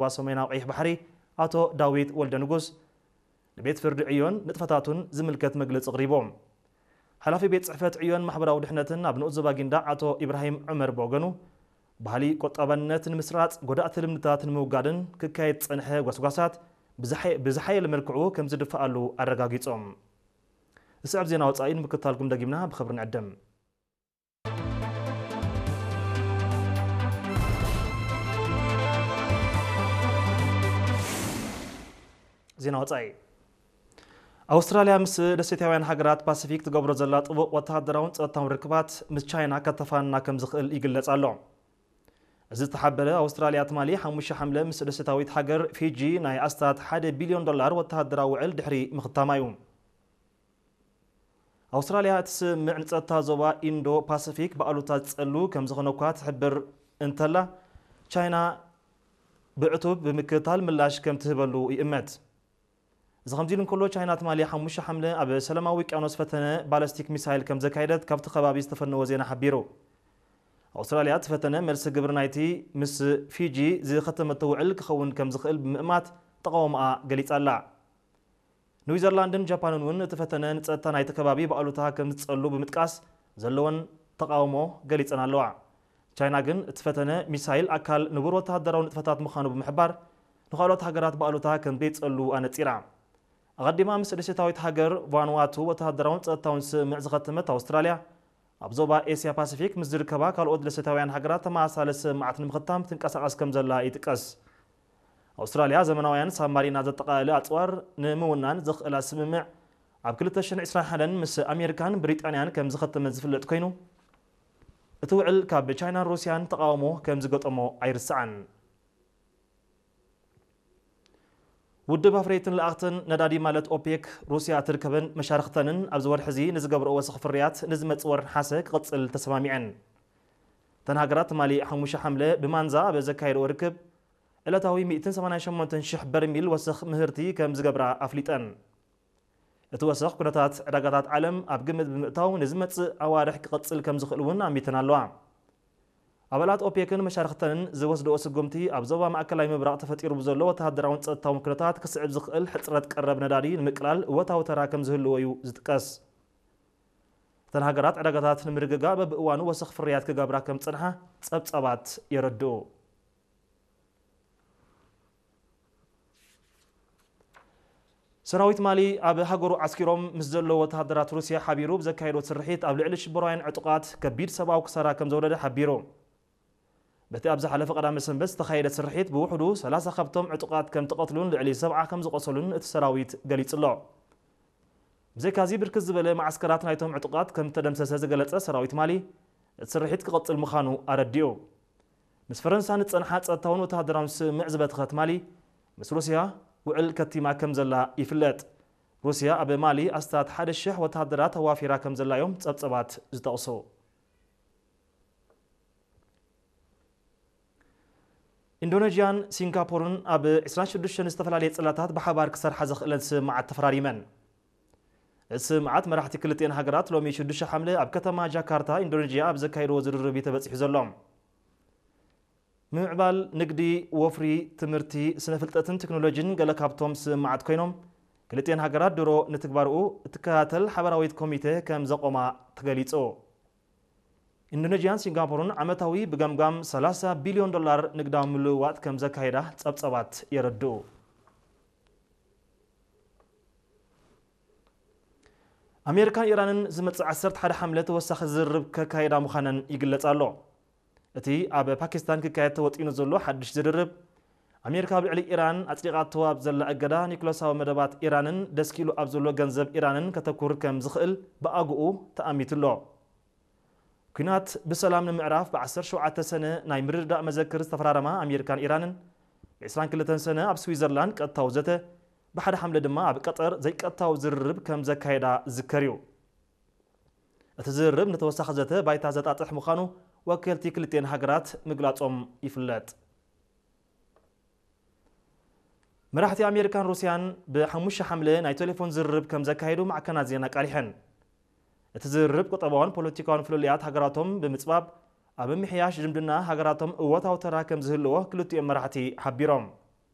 ዞባ ሰሜናዊ ቀይሕ ባሕሪ ኣቶ ዳዊት ወልደ ንጉስ ንቤት ፍርዲ ዕዮን ንጥፈታቱን ዝምልከት መግለጺ ኣቕሪቦም። ሓላፊ ቤት ጽሕፈት ዕዮን ማሕበራዊ ድሕነትን ኣብ ንኡስ ዞባ ጊንዳዕ ኣቶ ኢብራሂም ዑመር ብወገኑ፣ ባህሊ ቆጣባነት ንምስራጽ፣ ጎዳእቲ ልምድታት ንምውጋድን ክካየድ ዝጸንሐ ጓስጓሳት ብዝሓየ-፣ ብዝሓየለ መልክዑ ከም ዝድፍኣሉ ኣረጋጊጾም። ዝስዕብ ዜና ወጻኢ ንምክታልኩም ደጊምና ብኽብሪ ንዕድም። ዜና ወጻኢ። ኣውስትራልያ ምስ ደሴታውያን ሃገራት ፓሲፊክ ትገብሮ ዘላ ጥቡቕ ወተሃደራውን ጸጥታውን ርክባት ምስ ቻይና ከተፋንና ከም ዝኽእል ይግለጽ ኣሎ። እዚ ዝተሓበረ ኣውስትራልያ ትማሊ ሓሙሽተ ሓምለ ምስ ደሴታዊት ሃገር ፊጂ ናይ ኣስታት ሓደ ቢልዮን ዶላር ወተሃደራዊ ውዕል ድሕሪ ምኽታማ እዩ። ኣውስትራልያ እቲ ስምምዕ ንጸጥታ ዞባ ኢንዶ ፓሲፊክ ብኣሉታ ዝጸሉ ከም ዝኾነ እኳ ትሕብር እንተላ፣ ቻይና ብዕቱብ ብምክትታል ምላሽ ከም ትህበሉ ይእመት። እዚ ከምዚ ኢሉ እንከሎ፣ ቻይና ትማሊ ሓሙሽተ ሓምለ ኣብ ሰላማዊ ውቅያኖስ ፈተነ ባለስቲክ ሚሳይል ከም ዘካየደት ካብቲ ከባቢ ዝተፈነወ ዜና ሓቢሩ። ኣውስትራልያ እቲ ፈተነ መልሲ ግብሪ ናይቲ ምስ ፊጂ ዝኸተመቶ ውዕል ክኸውን ከም ዝኽእል ብምእማት ተቓውሞኣ ገሊጻ ኣላ። ኒውዚላንድን ጃፓንን እውን እቲ ፈተነ ንጸጥታ ናይቲ ከባቢ ብኣሉታ ከም ዝጸሉ ብምጥቃስ ዘለወን ተቓውሞ ገሊጸን ኣለዋ። ቻይና ግን እቲ ፈተነ ሚሳይል ኣካል ንቡር ወተሃደራዊ ንጥፈታት ምዃኑ ብምሕባር፣ ንኻልኦት ሃገራት ብኣሉታ ከም ዘይጸሉ ኣነጺራ። ኣቐዲማ ምስ ደሴታዊት ሃገር ቫኑዋቱ ወተሃደራውን ጸጥታውን ስምምዕ ዝኸተመት ኣውስትራልያ፣ ኣብ ዞባ ኤስያ ፓሲፊክ ምስ ዝርከባ ካልኦት ደሴታውያን ሃገራት ተመሳሳሊ ስምምዓት ንምኽታም ትንቀሳቐስ ከም ዘላ ይጥቀስ። ኣውስትራልያ ዘመናውያን ሳብማሪና ዘጠቓለለ ኣጽዋር ንምውናን ዘኽእላ ስምምዕ ኣብ ክልተ ሽሕን ዕስራን ሓደን ምስ ኣሜሪካን ብሪጣንያን ከም ዝኸተመት ዝፍለጥ ኮይኑ፣ እቲ ውዕል ካብ ቻይናን ሩስያን ተቓውሞ ከም ዝገጠሞ ኣይርስዓን። ውድብ ኣፍረይትን ለኣኽትን ነዳዲ ማለት ኦፔክ፣ ሩስያ እትርከበን መሻርኽተንን ኣብዚ ወርሒ እዚ ንዝገብርኦ ወሰኽ ፍርያት ንዝመጽእ ወርሒ ነሓሰ ክቕጽል ተሰማሚዐን። እተን ሃገራት ትማሊ ሓሙሽተ ሓምለ ብማንዛ ኣብ ዘካየድኦ ርክብ፣ ዕለታዊ ሚእትን ሰማንያን ሸሞንተን ሽሕ በርሚል ወሰኽ ምህርቲ ከም ዝገብራ ኣፍሊጠን። እቲ ወሰኽ ኩነታት ዕዳጋታት ዓለም ኣብ ግምት ብምእታው ንዝመጽእ ኣዋርሕ ክቐጽል ከም ዝኽእል እውን ኣሚተን ኣለዋ። ኣባላት ኦፔክን መሻርኽተንን ዝወስድኦ ስጉምቲ ኣብ ዞባ ማእከላይ ምብራቕ ተፈጢሩ ብዘሎ ወተሃደራውን ጸጥታውን ኩነታት ክስዕብ ዝኽእል ሕጽረት ቀረብ ነዳዲ ንምቅላል እወታዊ ተራ ከም ዝህልዎ እዩ ዝጥቀስ። እተን ሃገራት ዕዳጋታት ንምርግጋእ በብእዋኑ ወሰኽ ፍርያት ክገብራ ከም ዝጸንሓ ጸብጻባት የረድኡ። ሰራዊት ማሊ ኣብ ሃገሩ ዓስኪሮም ምስ ዘለዉ ወተሃደራት ሩስያ ሓቢሩ ብዘካየዶ ስርሒት ኣብ ልዕሊ ሽበራውያን ዕጡቓት ከቢድ ሰብኣዊ ክሳራ ከም ዘውረደ ሓቢሩ። በቲ ኣብ ዝሓለፈ ቀዳመ ሰንበት ዝተኻየደ ስርሒት ብውሕዱ ሰላሳ ካብቶም ዕጡቓት ከም ተቐትሉን ልዕሊ ሰብዓ ከም ዝቖሰሉን እቲ ሰራዊት ገሊጹ ኣሎ። ብዘይካዚ ብርክት ዝበለ መዓስከራት ናይቶም ዕጡቓት ከም ዝተደምሰሰ ዝገለጸ ሰራዊት ማሊ፣ እቲ ስርሒት ክቐጽል ምዃኑ ኣረዲኡ። ምስ ፈረንሳ ንጸንሓ ጸጥታውን ወተሃደራውን ስምምዕ ዝበተኸት ማሊ፣ ምስ ሩስያ ውዕል ከቲማ ከም ዘላ ይፍለጥ። ሩስያ ኣብ ማሊ ኣስታት ሓደ ሽሕ ወተሃደራት ኣዋፊራ ከም ዘላ እዮም ጸብጸባት ዝጠቕሱ። ኢንዶኔዥያን ሲንጋፖርን ኣብ ዕስራን ሽዱሽተን ዝተፈላለየ ጽላታት ብሓባር ክሰርሓ ዘኽእለን ስምምዓት ተፈራሪመን። እቲ ስምምዓት መራሕቲ ክልቲኤን ሃገራት ሎሚ ሽዱሽተ ሓምለ ኣብ ከተማ ጃካርታ ኢንዶኔዥያ ኣብ ዘካየድዎ ዝርርብ እዩ ተበጺሑ ዘሎ። ምምዕባል ንግዲ፣ ወፍሪ፣ ትምህርቲ፣ ስነ ፍልጠትን ቴክኖሎጂን ገለ ካብቶም ስምምዓት ኮይኖም፣ ክልቲኤን ሃገራት ድሮ ንትግባርኡ እትከታተል ሓበራዊት ኮሚቴ ከም ዘቆማ ተገሊጹ። ኢንዶኔዥያን ሲንጋፖርን ዓመታዊ ብገምጋም ሰላሳ ቢልዮን ዶላር ንግዳዊ ምልውዋጥ ከም ዘካየዳ ጸብጸባት የረድኡ። ኣሜሪካን ኢራንን ዝመጽእ ዓሰርተ ሓደ ሓምለ ተወሳኺ ዝርርብ ከካየዳ ምዃነን ይግለጽ ኣሎ። እቲ ኣብ ፓኪስታን ክካየድ ተወጢኑ ዘሎ ሓድሽ ዝርርብ፣ ኣሜሪካ ኣብ ልዕሊ ኢራን ኣጽዲቓቶ ኣብ ዘላ እገዳ፣ ኒኩለሳዊ መደባት ኢራንን ደስኪሉ ኣብ ዘሎ ገንዘብ ኢራንን ከተኩር ከም ዝኽእል ብኣግኡ ተኣሚቱ ኣሎ። ኲናት ብሰላም ንምዕራፍ ብ ዓሰርተ ሸውዓተ ሰነ ናይ ምርድዳእ መዘክር ዝተፈራረማ ኣሜሪካን ኢራንን፣ ብ ዕስራን ክልተን ሰነ ኣብ ስዊዘርላንድ ቀጥታዊ ዘተ፣ ብሓደ ሓምለ ድማ ኣብ ቀጠር ዘይቀጥታዊ ዝርርብ ከም ዘካየዳ ዝዝከር እዩ። እቲ ዝርርብ ንተወሳኺ ዘተ ባይታ ዘጣጥሕ ምዃኑ ወከልቲ ክልቲኤን ሃገራት ምግላጾም ይፍለጥ። መራሕቲ ኣሜሪካን ሩስያን ብሓሙሽተ ሓምለ ናይ ቴሌፎን ዝርርብ ከም ዘካየዱ ማዕከናት ዜና ኣቃሊሐን። እቲ ዝርርብ ቁጠባውን ፖለቲካውን ፍልልያት ሃገራቶም ብምጽባብ፣ ኣብ ምምሕያሽ ዝምድና ሃገራቶም እወታዊ ተራ ከም ዝህልዎ ክልቲኦም መራሕቲ ሓቢሮም።